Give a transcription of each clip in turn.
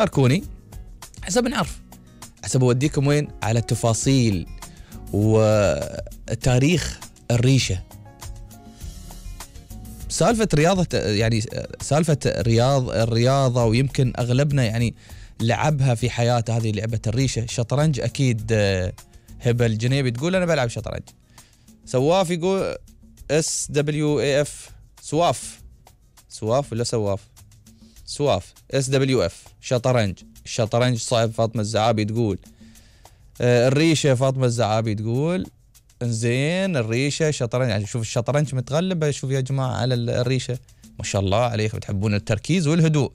شاركوني حسب نعرف، حسب اوديكم وين، على التفاصيل وتاريخ الريشة. سالفة رياضة، يعني سالفة الرياضة ويمكن أغلبنا يعني لعبها في حياته، هذه لعبة الريشة. شطرنج أكيد. هبة الجنيبي تقول أنا بلعب شطرنج. سواف يقول SWAF، سواف ولا سواف SWF شطرنج صعب. فاطمة الزعابي تقول الريشة. فاطمة الزعابي تقول انزين الريشة شطرنج، يعني شوف الشطرنج متغلب. شوف يا جماعة على الريشة، ما شاء الله عليكم تحبون التركيز والهدوء،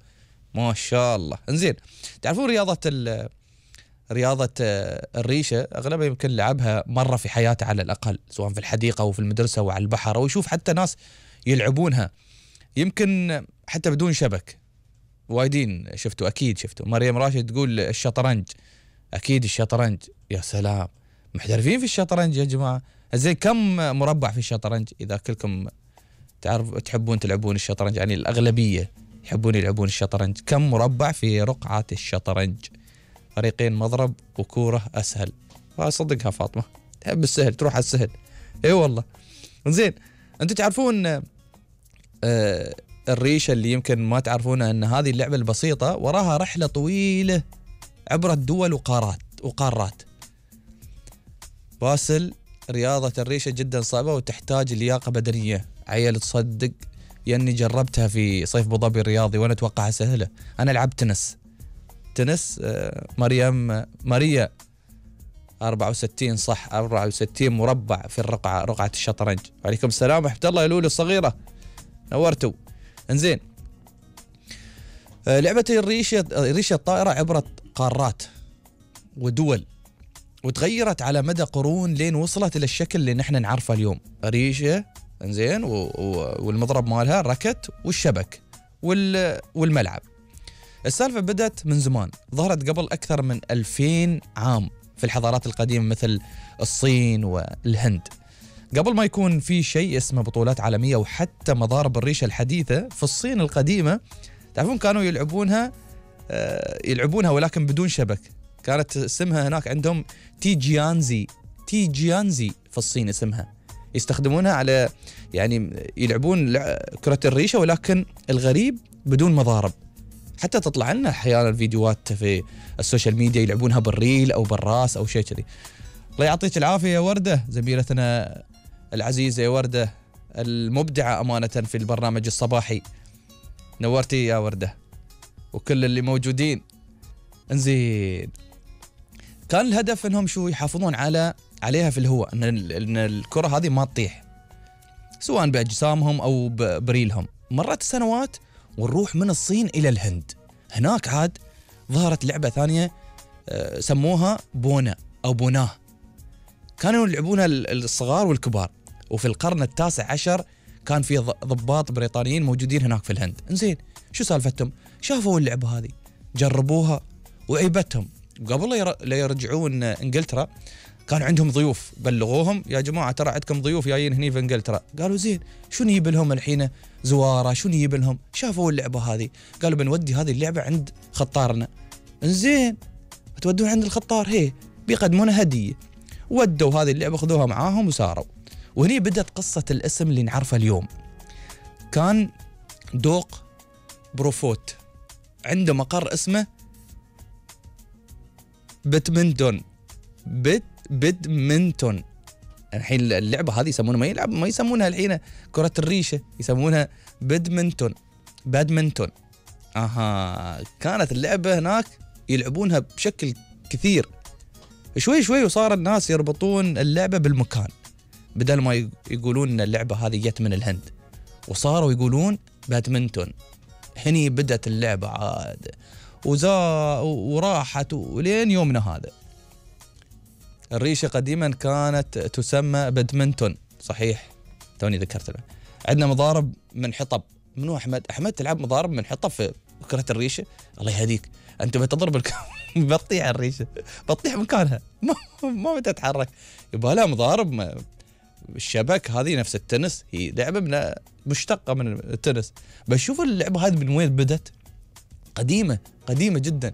ما شاء الله. انزين تعرفون رياضة الريشة أغلبها يمكن لعبها مرة في حياته على الأقل، سواء في الحديقة أو في المدرسة أو على البحر، أو يشوف حتى ناس يلعبونها يمكن حتى بدون شبك. وايدين شفتوا، أكيد شفتوا. مريم راشد تقول الشطرنج، أكيد الشطرنج. يا سلام، محترفين في الشطرنج يا جماعة. زين كم مربع في الشطرنج؟ إذا كلكم تحبون تلعبون الشطرنج، يعني الأغلبية يحبون يلعبون الشطرنج، كم مربع في رقعة الشطرنج؟ فريقين مضرب وكورة أسهل. صدقها فاطمة، تحب السهل تروح على السهل. اي والله. زين انتم تعرفون الريشة اللي يمكن ما تعرفونها، ان هذه اللعبة البسيطة وراها رحلة طويلة عبر الدول وقارات. باسل، رياضة الريشة جدا صعبة وتحتاج لياقة بدنية. عيل تصدق ياني جربتها في صيف ابو ظبي الرياضي وانا اتوقعها سهلة. انا لعبت تنس. ماريا 64 صح، 64 مربع في رقعة الشطرنج. وعليكم السلام ورحمة الله يا لولو الصغيرة، نورتوا. انزين لعبة الريشة الطائرة عبرت قارات ودول، وتغيرت على مدى قرون لين وصلت إلى الشكل اللي نحن نعرفه اليوم. ريشة انزين والمضرب مالها ركت والشبك والملعب. السالفة بدأت من زمان، ظهرت قبل أكثر من 2000 عام في الحضارات القديمة مثل الصين والهند، قبل ما يكون في شيء اسمه بطولات عالمية وحتى مضارب الريشة الحديثة. في الصين القديمة تعرفون كانوا يلعبونها ولكن بدون شبك. كانت اسمها هناك عندهم تيجيانزي في الصين اسمها. يستخدمونها على يعني يلعبون كرة الريشة، ولكن الغريب بدون مضارب. حتى تطلع لنا احيانا فيديوهات في السوشيال ميديا يلعبونها بالريل او بالراس او شيء كذي. الله يعطيك العافيه يا ورده، زميلتنا العزيزه يا ورده المبدعه امانه في البرنامج الصباحي. نورتي يا ورده وكل اللي موجودين. انزين كان الهدف انهم شو يحافظون عليها في الهواء، ان الكره هذه ما تطيح سواء باجسامهم او بريلهم. مرت السنوات ونروح من الصين إلى الهند. هناك عاد ظهرت لعبة ثانية سموها بونا أو بوناه. كانوا يلعبونها الصغار والكبار. وفي القرن التاسع عشر كان في ضباط بريطانيين موجودين هناك في الهند. انزين شو سالفتهم؟ شافوا اللعبة هذه جربوها وعيبتهم. قبل لا يرجعون انجلترا كان عندهم ضيوف، بلغوهم يا جماعة ترى عندكم ضيوف جايين هني في انجلترا. قالوا زين شو نجيب لهم الحين؟ زوارة شو نجيب لهم؟ شافوا اللعبة هذه قالوا بنودي هذه اللعبة عند خطارنا. انزين تودون عند الخطار، هي بيقدمونها هدية. ودوا هذه اللعبة خذوها معاهم وساروا. وهني بدأت قصة الاسم اللي نعرفه اليوم. كان دوق بروفوت عنده مقر اسمه بدمنتون. الحين اللعبة هذه يسمونها ما يسمونها الحين كرة الريشة، يسمونها بادمنتون. كانت اللعبة هناك يلعبونها بشكل كثير. شوي شوي وصار الناس يربطون اللعبة بالمكان، بدل ما يقولون ان اللعبة هذه جت من الهند وصاروا يقولون بادمنتون. هني بدأت اللعبة عاد وراحت ولين يومنا هذا. الريشة قديما كانت تسمى بدمنتون صحيح، توني ذكرت له. عندنا مضارب من حطب. منو أحمد تلعب مضارب من حطب في كرة الريشة؟ الله يهديك أنت بتضرب بتطيح الريشة، بتطيح مكانها ما بتتحرك. يبقى لها مضارب الشبك. هذه نفس التنس، هي لعبة مشتقة من التنس. بشوف اللعبة هذه من وين بدت. قديمة جدا.